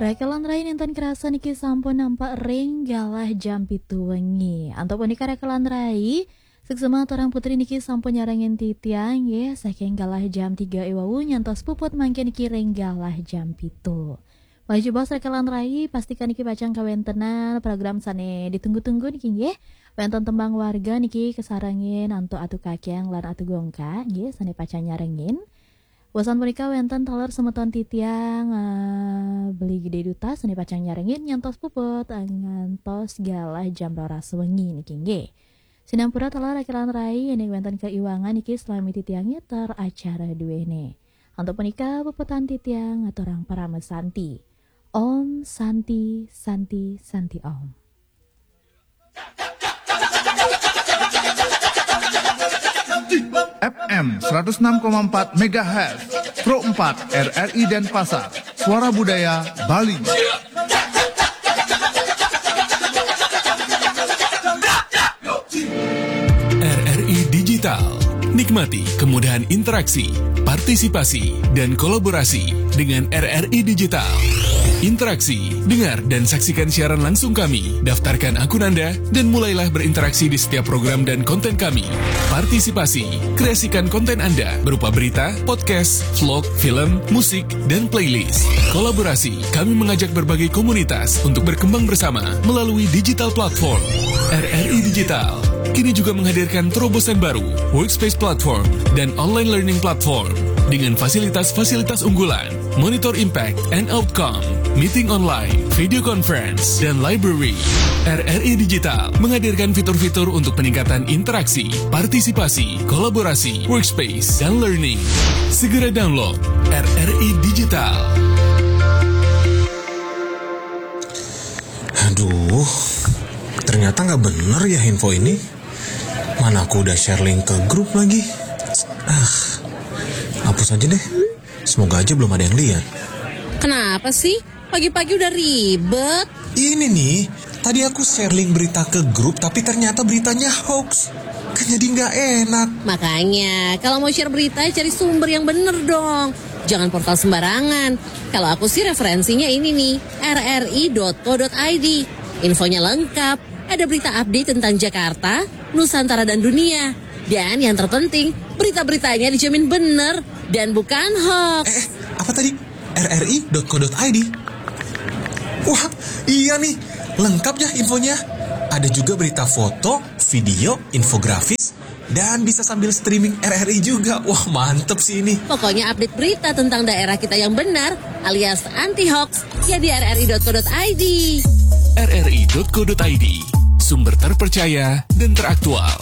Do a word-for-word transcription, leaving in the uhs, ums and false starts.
Rakelan rai nénten kerasa niki sampun nampak ring galah jam pitu wengi. Antuk punika rakelan rai, suksma aturang putri niki sampun nyarengin titiang nggih, saking galah jam tiga éwau nyantos puput mangkin niki ring galah jam pitu. Malih jebos rakelan rai, pastikan niki pacang kawéntenan program sané ditunggu-tunggu niki nggih. Wénten tembang warga niki kasarengin antuk Atu Kakéang lan Atu Gongka nggih, sané pacang nyarengin. Wusan punika wénten taler semeton titiang, eh, Beli Gedé Duta sané pacang nyarengin nyantos puput, eh, ngantos galah jam roras wengi niki nggih. Sinampura taler rakelan rai, yén wénten kaiwangan niki salami titiang ngéter acara duéné. Antuk punika puputang titiang ngaturang parama santi. Om Santi, Santi, Santi Om. F M seratus enam koma empat megahertz, Pro empat R R I Denpasar, Suara Budaya Bali. R R I Digital. Nikmati kemudahan interaksi, partisipasi, dan kolaborasi dengan R R I Digital. Interaksi, dengar dan saksikan siaran langsung kami. Daftarkan akun Anda dan mulailah berinteraksi di setiap program dan konten kami. Partisipasi, kreasikan konten Anda berupa berita, podcast, vlog, film, musik, dan playlist. Kolaborasi, kami mengajak berbagai komunitas untuk berkembang bersama melalui digital platform. R R I Digital kini juga menghadirkan terobosan baru, Workspace Platform dan Online Learning Platform dengan fasilitas-fasilitas unggulan, monitor impact and outcome, meeting online, video conference, dan library. R R I Digital menghadirkan fitur-fitur untuk peningkatan interaksi, partisipasi, kolaborasi, workspace, dan learning. Segera download R R I Digital. Aduh, ternyata nggak bener ya info ini. Mana aku udah share link ke grup lagi. Ah, hapus aja deh. Semoga aja belum ada yang lihat. Kenapa sih? Pagi-pagi udah ribet. Ini nih, tadi aku share link berita ke grup tapi ternyata beritanya hoax. Kan jadi nggak enak. Makanya, kalau mau share berita, cari sumber yang bener dong. Jangan portal sembarangan. Kalau aku sih referensinya ini nih, R R I dot co dot I D. Infonya lengkap. Ada berita update tentang Jakarta, Nusantara dan dunia. Dan yang terpenting, berita-beritanya dijamin bener dan bukan hoax. Eh, apa tadi? R R I dot co dot I D. Wah, iya nih, lengkap ya infonya. Ada juga berita foto, video, infografis, dan bisa sambil streaming R R I juga. Wah, mantep sih ini. Pokoknya update berita tentang daerah kita yang benar alias anti hoax ya di R R I dot co dot I D. R R I dot co dot I D, sumber terpercaya dan teraktual.